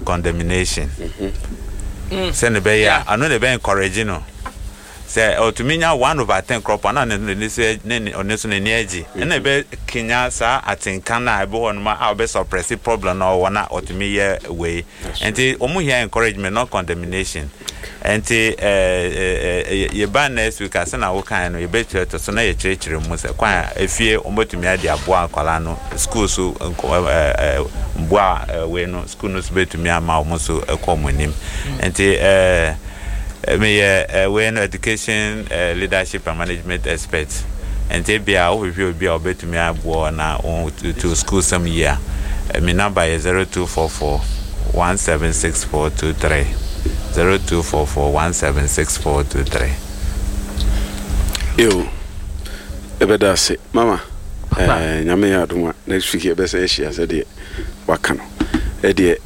condemnation. Sɛnea ɛbɛyɛ a ɛno na ɛbɛ encourage no. Sɛ ɔtumi nya 1/10 korɔ po a, na ne ne so ne ne ɔno nso n'ani agye. Ɛna ɛbɛ kenya saa atenka no a ɛbɛ hɔ nom a ɔbɛ suppress problem no a ɔwɔ na ɔtumi yɛ wei. Nti wɔn hia encouragement, not condemnation. Nti ɛɛ yɛba next week a, sɛnea wokae no, yɛbɛkyerɛ so na yɛkyerɛkyerɛ mu sɛ kwan a efie wɔbɛtumi ade aboa nkwadaa no, school so ɛɛ mboa wei no, school no so bɛtumi ama wɔn nso kɔ wɔn anim. Nti meyɛ wei no, education, leadership and management expert. Nti ebia wohwehwɛ obi a ɔbɛtumi aboa na wɔn school sɛm yie a, me number yɛ 0244 176423, 0244 176423. Yo, ɛbɛda ase, mama. Nyame yɛ adom a, next week yɛbɛsɛ ahyia sɛdeɛ waka no. Ɛdeɛ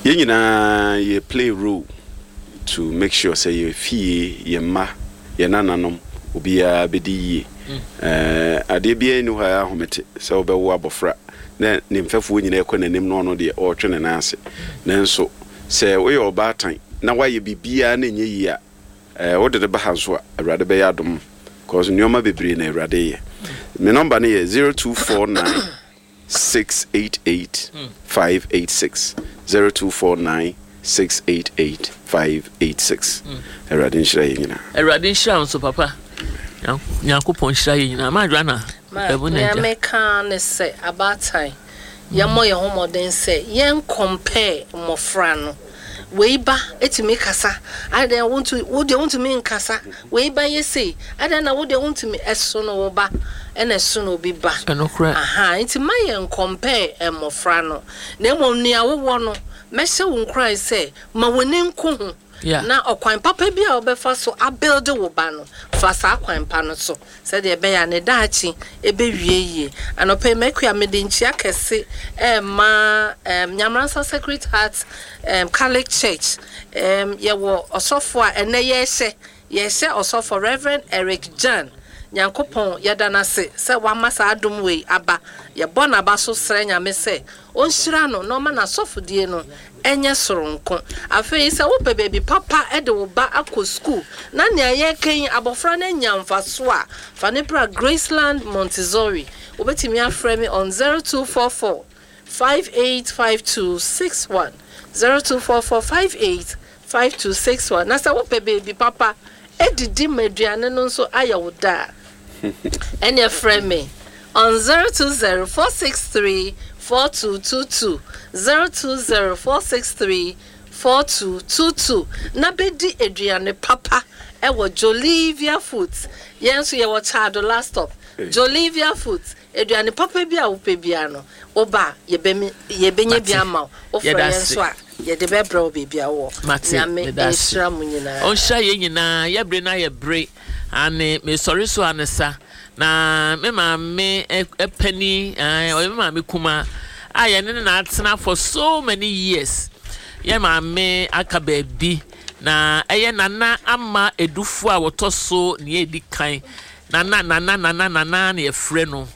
yɛn nyinaa yɛ play role to make sure sɛ yɛ fie, yɛ mma, yɛ nananom, obiara bɛdi yie. Adeɛ biara nni hɔ a ɛyɛ ahomete sɛ wobɛwo abɔfra na ne mfɛfoɔ nyinaa ɛkɔ n'anim na ɔno deɛ ɔretwe ne nan ase. Nanso sɛ woyɛ ɔbaatan na woayɛ biribiara na ɛnyɛ yie a, wode ne ba ha nso a, Awurade bɛyɛ adom, cause nneɛma bebree na Awurade yɛ. Me number no yɛ 0249 688 586, 0249 688 586. Awurade nhyira yɛ nyinaa. Awurade nhyira wo nso, papa. Nyankopɔn nhyira yɛ nyinaa. Maadwa na ɛbo na nea agya. Meka ne sɛ abaatan, yɛmmɔ yɛn ho mmɔden sɛ yɛn compare mmɔfra no. Wei ba etumi kasa, adan wontu wo deɛ wontumi nkasa? Wei ba yɛ sei, adan na wo deɛ wontumi? Ɛso no wo ba ɛna ɛso no obi ba. Ɛnokorɛ. Aha, nti ma yɛn compare mmɔfra no, na mmom nea wowɔ no, mɛhyɛ wo nkuran sɛ ma w'ani nko ho na ɔkwan papa bi a wobɛfa so abuild wo ba no, fa saa kwan pa no so sɛdeɛ ɛbɛyɛ a ne daakye ɛbɛwie yie. Anɔpɛ yi, makua mede nkyia kɛse ɛma Nyamransa Sacred Heart Catholic Church. Yɛwɔ ɔsɔfo a ɛnɛ yɛhyɛ ɔsɔfo Reverend Eric Jan. Nyankopɔn, yɛda no ase sɛ wama saa adom wei aba. Yɛbɔ n'aba so srɛ Nyame sɛ ɔnhyira no na ɔma n'asɔfodie no ɛnyɛ soronko. Afei sɛ wopɛ baabi papa de wo ba akɔ school na nea yɛreka yi abɔfra no anya mfaso a, fa ne bra Graceland Montessori. Wobɛtumi afrɛ me on 0244 585261, 0244 585261. Na sɛ wopɛ baabi papa edidi ma aduane no nso ayɛ wo da a, ɛneɛ frɛ me on 020 463 4222, 020 463 4222, na bɛdi aduane papa ɛwɔ Jolivia Foods. Yɛn nso yɛwɔ Kyado Last Stop. Jolivia Foods, aduane papa bi a wopɛ bia no, woba a, yɛbɛnya bi ama wo. Wofrɛ Yɛda yɛn ase. nso a, yɛde bɛbrɛ wo baabi a wowɔ. Mate, Nyame meda ase. nhyira mo nyinaa. Ɔnhyira yɛn nyinaa. Yɛbere no ayɛ bere ane mesɔre so ane sa na me maame ɛpani, ɔyɛ me maame kuma a yɛne ne na atena for so many years. Yɛ maame aka baabi na ɛyɛ Nana Ama Edufo a wɔtɔ so nea edi kan, Nana, Nana, Nana, Nana na yɛfrɛ no.